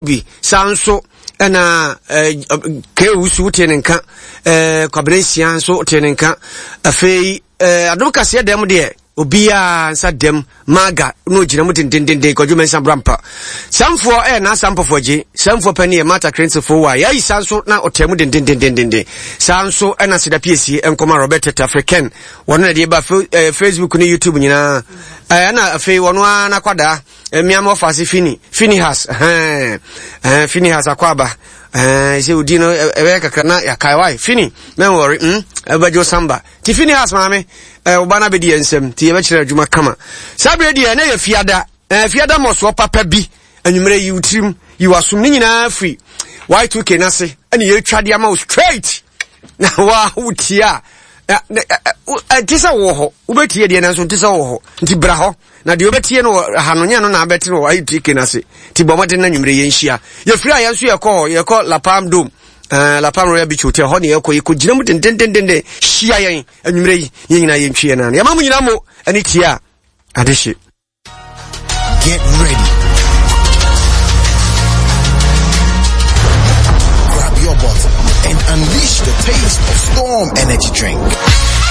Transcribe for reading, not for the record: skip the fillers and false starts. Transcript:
Bi. Saa nso ɛna Kewusu wotee ne nka, Kwabena Nsia nso wotee ne nka. Afei adom kaseɛ dɛm deɛ obiara nsa dɛm maga na ogyina mu dendendenden Kwadwo Mensah Brampa. Samfoɔ ɛyɛ n'asa mpɔfoɔ agye, Samfoɔ pɛ ne yɛ Martha Krensefo wa yɛayi saa nso na ɔtaa mu dendendendenden. Saa nso ɛna Seda Piesie nkɔma Robert Tafre Ken wɔn na deɛ ba Facebook ne YouTube nyinaa. Ɛna afei wɔn ara n'akwadaa Mmea ma ɔfa ase fini Finihas ɛhɛn ɛhɛn Finihas akɔ aba ɛhɛn sɛ odi no ɛbɛyɛ kakra na yɛakae wae Fini mɛnwɔre mm ɛbɛgye samba ti Finihas maame ɛɛ ɔba no abɛdi yɛn nsam ti yɛbɛkyerɛ adwuma kama saa berɛ deɛ ɛnɛ yɛ fiada ɛɛ fiada mmɔsoɔ papa bi anwummerɛ yi wo tirim yi w'asom ne nyinaa firi Y2K n'ase ɛne yɛtwa de ama wo straight na wa wotie a ɛnte sɛ wowɔ hɔ wobɛtie deɛ nanso nte sɛ wowɔ hɔ nti bra hɔ Na deɛ wobɛtie no wɔ ha no nyɛ no na abɛte no wɔ ITK no ase. Nti bɔ mmɔden na nwummere yɛnhyia. Yɛfiri a yɛn nso yɛkɔ hɔ, yɛkɔ La Palm Dome, uh, La Palm Royal Beach Hotel, hɔ ne yɛkɔ, yɛkɔgyina mu dendendenden. Hyia yɛn anwummerɛ yi, yɛn nyinaa yɛntwi yɛn nan. Yɛma mo nyinaa mo ani tie a adehye. Get ready. Grab your bottle and unleash the taste of Storm Energy Drink.